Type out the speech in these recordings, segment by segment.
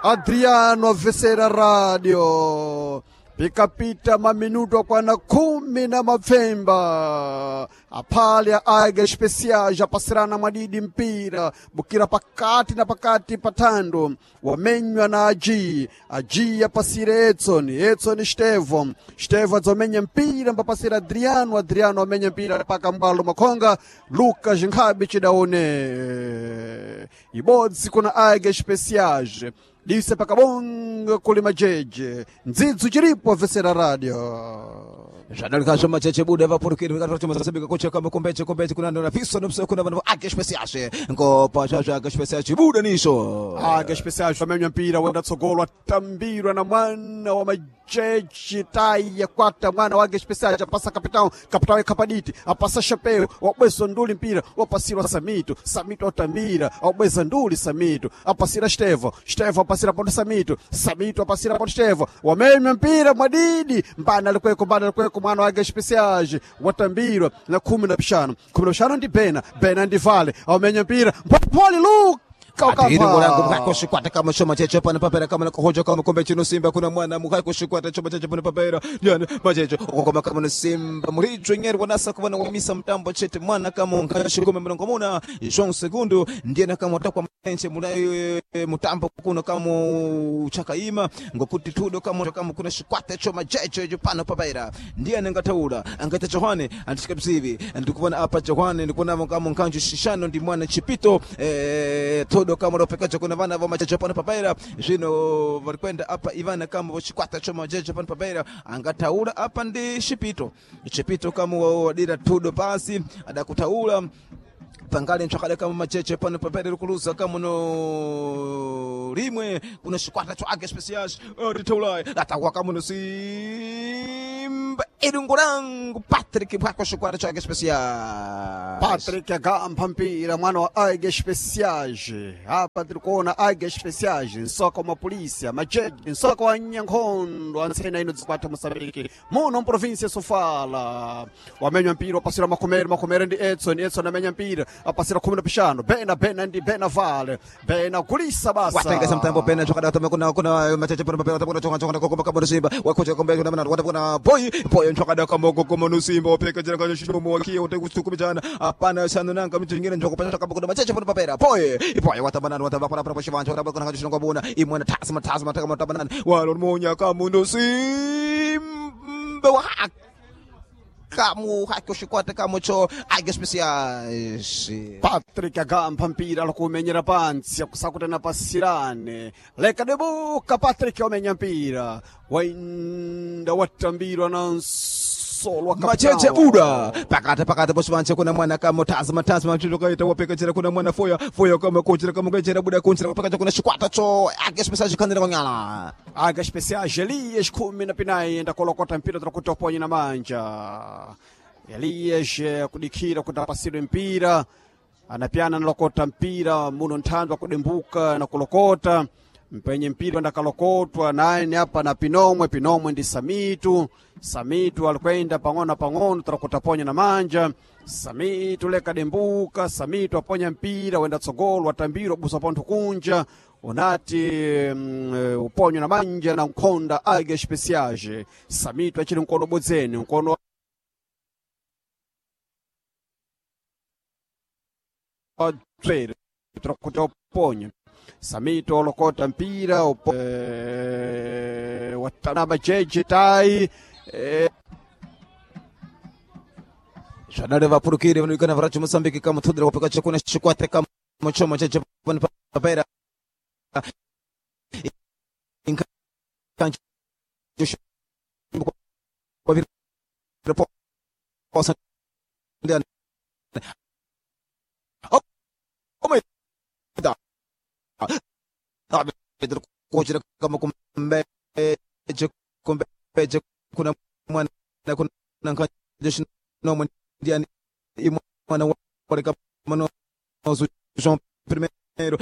Adriano avesera radio pikapita maminuto akwana 17 aphale a Águia Especiais apasirana mwadidi mpira bukira pakati na pakati pathando wamenywa na Aji. Aji apasire Edson, Edson Stevo, Stevo adzomenya mpira mbapasira Adriano, Adriano amenya mpira paka mbalo makhonga Lucas Nkhabi chidaone ibodzi kuna Águia Especiais dise pakabonga kuli majeje ndzidzu chiripo avesera radio. Zvadalika macheche buda vapurukiri vikatochomazasebika kocha kama kumbeche kumbeche kuna ndona fiso nomso kuna vanhu Águia Especiais ngopa zvazvo Águia Especiais buda nisho. Águia Especiais wamenya mpira wenda tsogolo atambirwa na mwana wa majeji tai yakwata mwana wa Águia Especiais apasa capitão, capitão ekhapaditi apasa chapeu wabweza nduli mpira wapasirwa Samito, Samito atambira wabweza nduli Samito apasira Stevo, Stevo apasira ponto Samito, Samito apasira ponto Stevo wamenya mpira mwadidi mbana likweko mbana likweko mwana wa Águia Especiais watambirwa na 15 15 ndi Bena, Bena ndi Vale wamenya mpira mpopoli Luka Atiri ngolangu mukako shikwata kama choma cheche pana papera kama na kuhoja kama kombe chino simba kuna mwana mukako shikwata choma cheche pana papera yana macheche okokoma kama no simba muricho nyeri wanasa kuwana wamisa mtambo chete mwana kama ungashi kome mrongo muna João Segundo ndiye na kama utakwa mwenche mulai mutambo kuno kama chakaima ngokuti tudo kama kama kuna shikwata choma cheche jo pana papera ndiye nangataula angata Johane andishika bzivi ndikuona apa Johane ndikuona kama nkanju shishano ndi mwana chipito todo kama ropekacho kuna vana va macheche pano papaira zvino vari kuenda apa ivana kama vochikwata cho macheche pano papaira angataura apa ndi chipito chipito kama wadira tudo pasi adakutaura pangali ntsvakada kama macheche pano papaira rikuluza kama no rimwe kuna chikwata cho Águia Especiais ritaulai latawa kama no simba irungu rangu Patrick bwako chikwata cho Águia Especiais. Patrick agamba mpira mwana wa Águia Especiais. Apa tiri kuona Águia Especiais nsoka wa polícia majeji nsoka wa nyankhondo antsena ino dzikwata Moçambique muno mprovinsia ya Sofala wamenya mpira wapasira Makomere, Makomere ndi Edson, Edson amenya mpira apasira 15 Bena, Bena ndi Bena Vale, Bena kulisa basa watengesa mtambo pena chokada tome kuna kuna macheche pano papera kuna chonga chonga kokoma kama simba wakocha kombe kuna mana wata kuna boy boy chokada kama kokoma no simba opeka jana kana shimo wakia wote kusukumijana hapana sana nanga mtu nyingine njoko pata kama kuna macheche pano papera boy boy wata banana wata bakora pano shivanja wata bakora kana shimo bona imwana tasma tasma taka mata banana walo monya kama no simba wa kamu hakoshikwata kamo cho Águia Especiais. Patrick agamba mpira alikumenyera pansi akusakutana pasirane leka debuka Patrick wamenya mpira wainda watambirwa na nsolo wa Macheche kapitao. buda pakati pakati posvanje kuna mwana kama tazama tazama mchilokaita wapekechera kuna mwana foya foya kama kuchira kama kuchira buda kunchira wapekacha kuna chikwata cho Águia Especiais kandira kwanyala. Águia Especiais Elias 19 ndakolokota mpira tirakuti uponye na manja Elias kudikira kuti apasirwe mpira anapyana nalokota mpira muno nthandu akudembuka na kulokota mpenye mpira ndakalokotwa naye apa na Pinomwe, Pinomwe ndi Samitu, Samitu alikwenda pang'ono pang'ono tirakuti aponya na manja Samitu leka dembuka Samitu aponya mpira wenda tsogolo watambirwa busa pontho kunja unati uponyo na manja na nkhonda Águia Especiais Samitu achili mkono bodzeni mkono wa dzwere tirakuti uponye Samito olokota mpira watanaba jeje tai Zvadare vapurukiri vanoikana varacho Mozambique kama tudira wapekacha kuna chikwata kama choma cheche pano papera kuna mwana kuna no ndiani imwana wale kama no João primeiro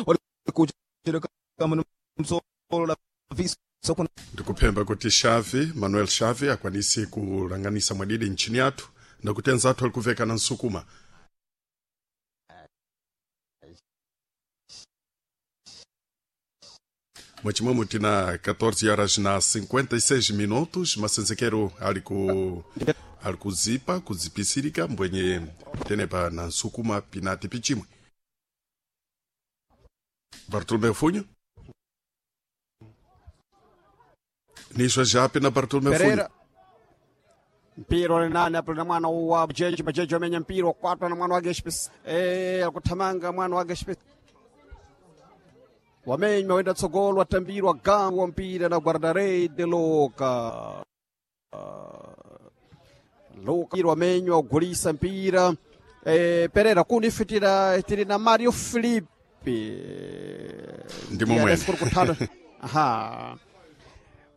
wale kuchira kama no msolo la viso kuna Ndikuphemba kuti Xavi, Manuel Xavi akwanise kulanganisa mwadidi nchini yathu ndakuti anzathu ali kuveka na nsukuma. Mwachimwemwe tina 14 horas na 56 minutos masenzekero ali ku ali kuzipa kuzipisirika mbwenye tenepa na nsukuma pinati pichimwe. Bartolomeu Funho Niswa jape na Bartolomeu Funho. Pereira mpira uli nani apo na mwana wa Jeje Majeje amenya mpira wakwatwa na mwana wake Spes akuthamanga mwana wake Spes wamenywa wenda tsogolo watambirwa gangu wa mpira na guardarede Loka Loka wamenywa ugulisa mpira Pereira kunifitira tiri na Mario Felipe Ndimo mwene. Kutano. Aha.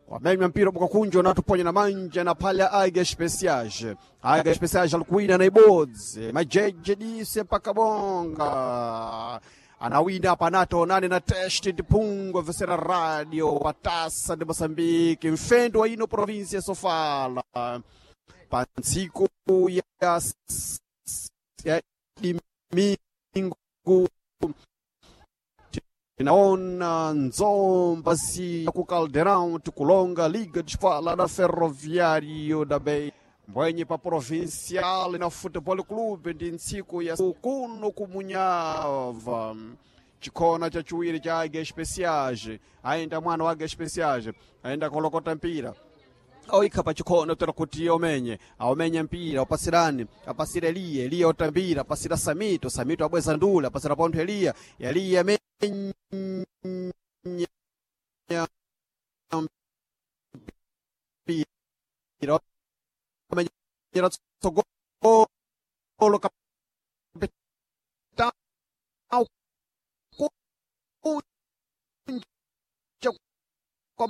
Wamenywa mpira bukakunjwa na tuponya na manja na palha Águia Especiais. Águia Especiais alikuwina na ibodzi. Majeje dise mpaka bonga. Anawina panato nane na teste de Pungo vesera radio wa Taça de Moçambique mfendo wa ino província Sofala. Pantsiku ya domingo tinaona nzomba si ku Caldeirão tikulonga Liga de Fala da Ferroviário da Beira mbwenye pa Provincial na Futebol Clube ndi ntsiku ya kuno kumunyava chikhona chachiwiri cha Águia Especiais ayenda mwana wa Águia Especiais ayenda kolokota mpira oikha pachikhono tera kuti omenye aomenye mpira upasirani apasira Eliya Eliya otambira apasira Samito Samito abweza ndula apasira pontho Eliya Eliya amenya mpira omenyera tsogolo kapitão kunja kwa